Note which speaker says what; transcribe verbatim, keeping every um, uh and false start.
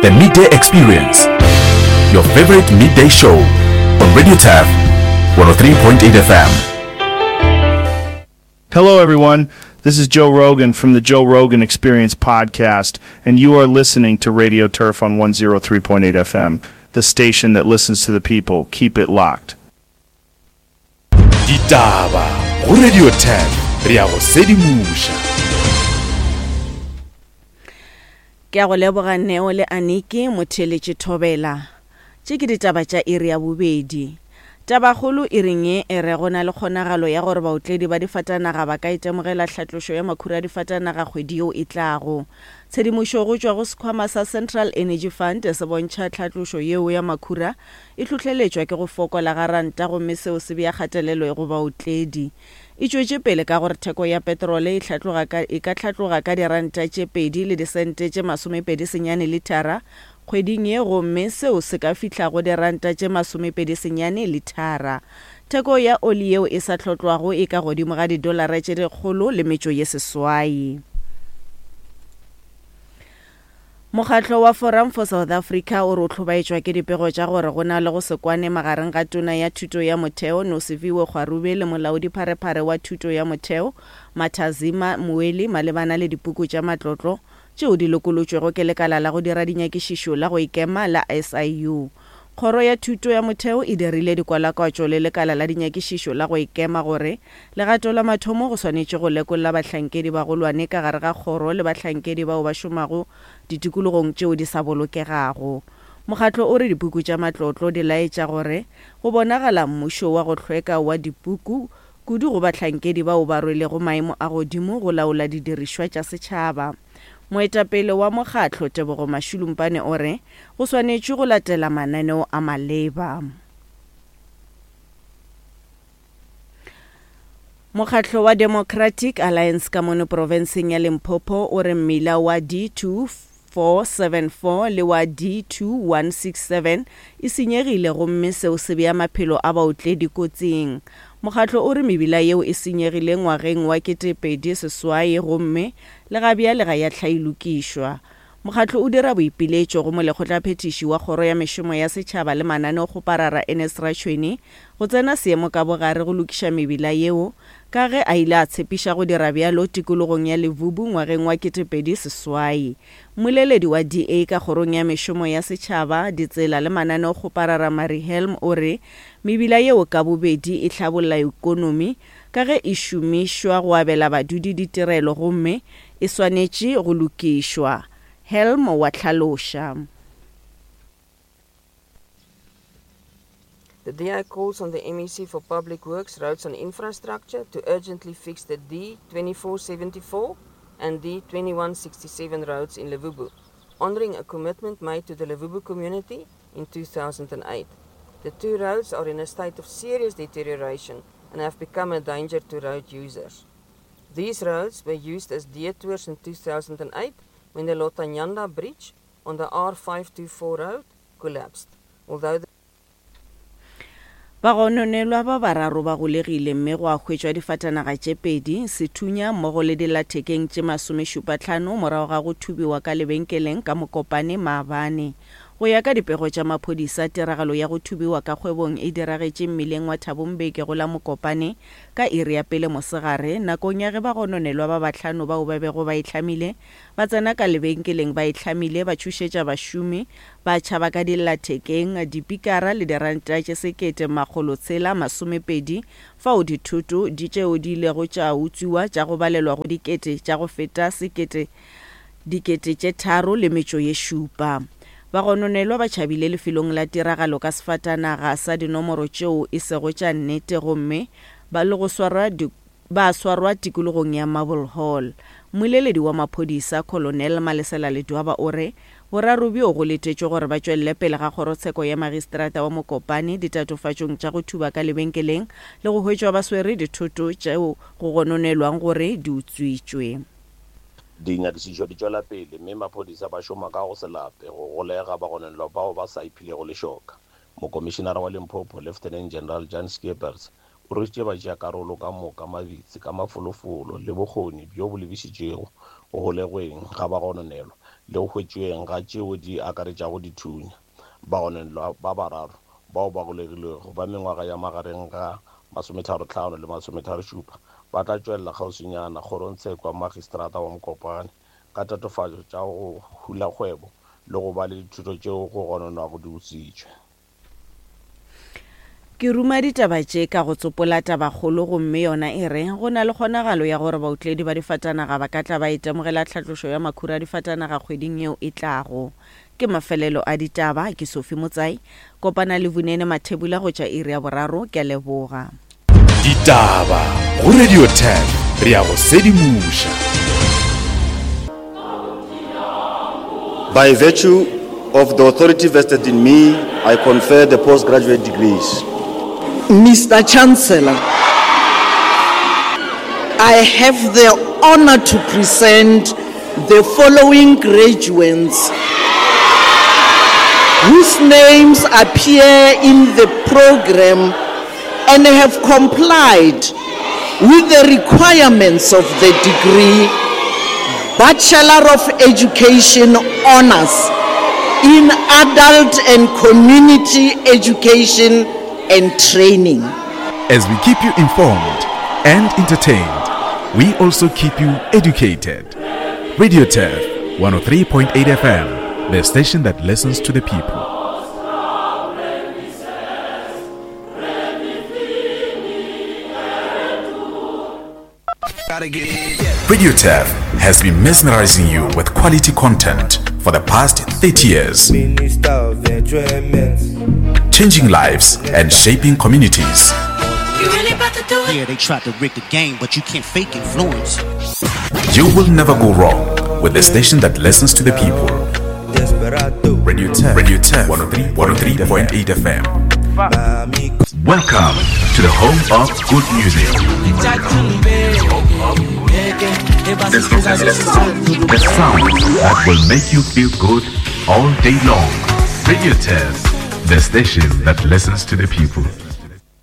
Speaker 1: The Midday Experience, your favorite midday show on Radio Turf one oh three point eight F M.
Speaker 2: Hello, everyone. This is Joe Rogan from the Joe Rogan Experience podcast, and you are listening to Radio Turf on one oh three point eight F M, the station that listens to the people. Keep it locked.
Speaker 1: Ditaba go Radio Turf, re a go sedimoša.
Speaker 3: Ke a go leboga Neo le Aniki motheletše Thobela. Tše ke ditaba tša iri ya bobedi. Tabakgolo e reng ye e re go na le kgonagalo ya gore baotledi ba difatanaga ba ka itemogela tlhatlošo ya makhura a difatanaga kgwedi yeo e tlago. Tshedimošo go tšwa go sekhwama sa Central Energy Fund se bontšha tlhatlošo yeo ya makhura e hlohleletšwa ke go fokola ga ranta gomme seo se bea kgatelelo go baotledi. E tšwetše pele ka gore theko ya petrole e hlatloga ka e ka hlatloga ka diranta tše pedi le disente tše masomepedi senyane lithara kgweding ye gomme seo se ka fihla go diranta tše masomepedi senyane lithara. Theko ya oli yeo e sa hlotlwago e ka godimo ga didolara tše dikgolo le metšo ye seswai. Mokgatlo wa Forum for South Africa o re o hlobaetšwa ke dipego tša gore go na le go se kwane magareng ga tona ya thuto ya motheo Nosiviwe Gwarube le molaodipharephare wa thuto ya motheo Mathazima Mweli malebana le dipuku tša matlotlo tšeo di lokolotšwego ke lekala la go dira dinyakišišo la go ikema la S I U. Kgoro ya thuto ya motheo e dirile dikwalakwatšo le lekala la dinyakišišo la go ikema gore legato la mathomo go swanetše go lekolla bahlankedi bagolwane ka gare ga kgoro le bahlankedi bao ba šomago ditikologong tšeo di sa bolokegago. Mokgatlo o re dipuku tša matlotlo di laetša gore go bonagala mmušo wa go hlweka wa dipuku kudu go bahlankedi bao ba rwelego maemo a godimo go laola didirišwa tša setšhaba. Moetapele wa mokgatlo Tebogo Mashulumpane o re go swanetše go latela mananeo a maleba. Mokgatlo wa Democratic Alliance ka mono profenseng ya Limpopo o re mmila wa D two four seven four le wa D two one six seven e senyegile gomme seo se bea maphelo a baotledi kotsing. Mokgatlo o re mebila yeo e senyegile ngwageng wa ketepedi seswai gomme le ga bjale ga ya hlailokišwa. Mokgatlo o dira boipiletšo go molekgotlaphethiši wa kgoro ya mešomo ya setšhaba le mananeokgoparara Ernest Rachoene go tsena seemo ka bogare go lokiša mebila yeo ka ge a ile a tshepiša go dira bjalo tikologong ya Levubu ngwageng wa ketepedi seswai. Mmoleledi wa D A ka kgorong ya mešomo ya setšhaba, ditsela le mananeokgoparara Mary Helm o re mebila yeo ka bobedi e hlabolla ikonomi ka ge e šomišwa go abela badudi ditirelo gomme e swanetše go lokišwa. Helm wa hlaloša.
Speaker 4: The D A calls on the M E C for Public Works, Roads and Infrastructure to urgently fix the D twenty-four seventy-four and D twenty-one sixty-seven roads in Levubu, honouring a commitment made to the Levubu community in two thousand eight. The two roads are in a state of serious deterioration and have become a danger to road users. These roads were used as detours in two thousand eight when the Lotanyanda Bridge on the R five two four road collapsed. Although the
Speaker 3: Bagononelwa ba bararo ba golegile mme go a hwetšwa difatanaga tše pedi, sethunya mmogo le dillathekeng tše masomešupa hlano morago ga go thubiwa ka lebenkeleng ka Mokopane maabane. Go ya ka dipego tša maphodisa, tiragalo ya go thubiwa ka kgwebong e diragetše mmileng wa Thabombeke go la Mokopane ka iri ya pele mosegare nakong ya ge bagononelwa ba bahlano bao ba bego ba itlhamile ba tsena ka lebenkeleng ba itlhamile ba tšhošetša bašomi ba tšhaba ka dillathekeng, dipikara le diranta tše sekete makgolo tshela masomepedi fao dithoto di tšeo di ilego tša utswiwa tša go balelwa go dikete tša go feta sekete dikete tše tharo le metšo ye šupa. Bagononelwa ba tšhabile lefelong la tiragalo ka sefatanaga sa dinomoro tšeo e sego tša nnete gomme ba le go swarwa ba swarwa tikologong ya Marble Hall. Mmoleledi wa maphodisa Colonel Malesela Ledwaba o re boraro bjo go letetšwe gore ba tšwelele pele ga kgorotsheko ya magistrata wa Mokopane ditatofatšong tša go thuba ka lebenkeleng le go hwetšwa ba swere dithoto tšeo go gononelwang gore di utswitšwe.
Speaker 5: Dinyakišišo di tšwela pele mme maphodisa ba šoma ka go se lape go golega bagononelwa bao ba sa iphilego lešoka. Mokomišenara wa Limpopo Lieutenant General Jan Skeepers o rwešitše batšeakarolo ka moka mabitsi ka mafolofolo le bokgoni bjo bo lebišitšego go golegweng ga bagononelwa le go hwetšweng ga tšeo di akaretšago dithunya. Bagononelwa ba bararo bao ba golegilwego ba mengwaga ya magareng ga masometharo-hlano le masometharo-šupa ba tla tšwelela kgauswinyana kgorongtsheko ya magistrata wa Mokopane ka tatofatšo tša go hula kgwebo le go ba le dithuto tšeo go gononwago di utswitšwe.
Speaker 3: Ke ruma ditaba tše ka go tsopola tabakgolo gomme yona e re go na le kgonagalo ya gore baotledi ba difatanaga ba ka tla ba itemogela tlhatlošo ya makhura a difatanaga kgweding yeo e tlago. Ke mafelelo a ditaba, ke Sophie Motsai. Kopana le Vunene Mathebula go tša iri ya boraro. Ke a leboga.
Speaker 1: Ditaba go Radio Turf, re ya go sedimoša.
Speaker 6: By virtue of the authority vested in me, I confer the postgraduate degrees.
Speaker 7: Mister Chancellor, I have the honor to present the following graduates whose names appear in the program and have complied with the requirements of the degree Bachelor of Education Honors in Adult and Community Education and Training.
Speaker 1: As we keep you informed and entertained, we also keep you educated. Radio Turf one oh three point eight F M, the station that listens to the people. Radio Turf has been mesmerizing you with quality content for the past thirty years, changing lives and shaping communities.
Speaker 8: You really about to do it?
Speaker 9: Yeah, they tried to rig the game, but you can't fake influence.
Speaker 1: You will never go wrong with the station that listens to the people. Radio Turf, Radio Turf, one oh three point eight F M. Welcome to the home of good music. The sound that will make you feel good all day long. Radio Turf, the station that listens to the people.